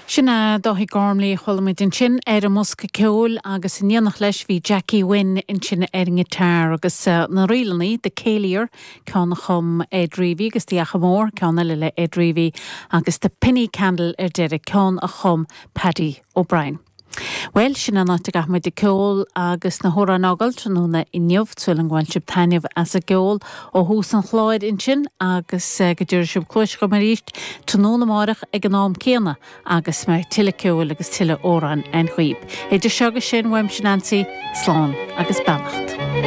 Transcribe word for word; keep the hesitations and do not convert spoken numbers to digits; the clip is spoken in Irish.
Sin é Dáithí Gormley a chuala muid ansin ar an mbosca ceoil agus in éineacht leis bhí Jackie Wynne ansin ar an ngiotár agus uh, na ríleanna The Céilí ceann a chum Ed Reavy agus The Achadh Mór ceann eile le Ed Reavy agus The Penny Candle ar deireadh ceann a chum Paddy O'Brien. Well sin an áit a gcaithfimid an ceol agus na hamhráin a fhágáil tráthnóna inniu súil agam go bhfuil sibh taitneamh as an gceol ó thús an chláir ansin agus eh, go dtabharfaidh sibh cluas dhom arís tráthnóna amárach ag an am céanna agus mé tuilleadh ceoil agus tuilleadh amhrán agaibh. Idir seo agus sin uaimse Nancy, slán agus beannacht.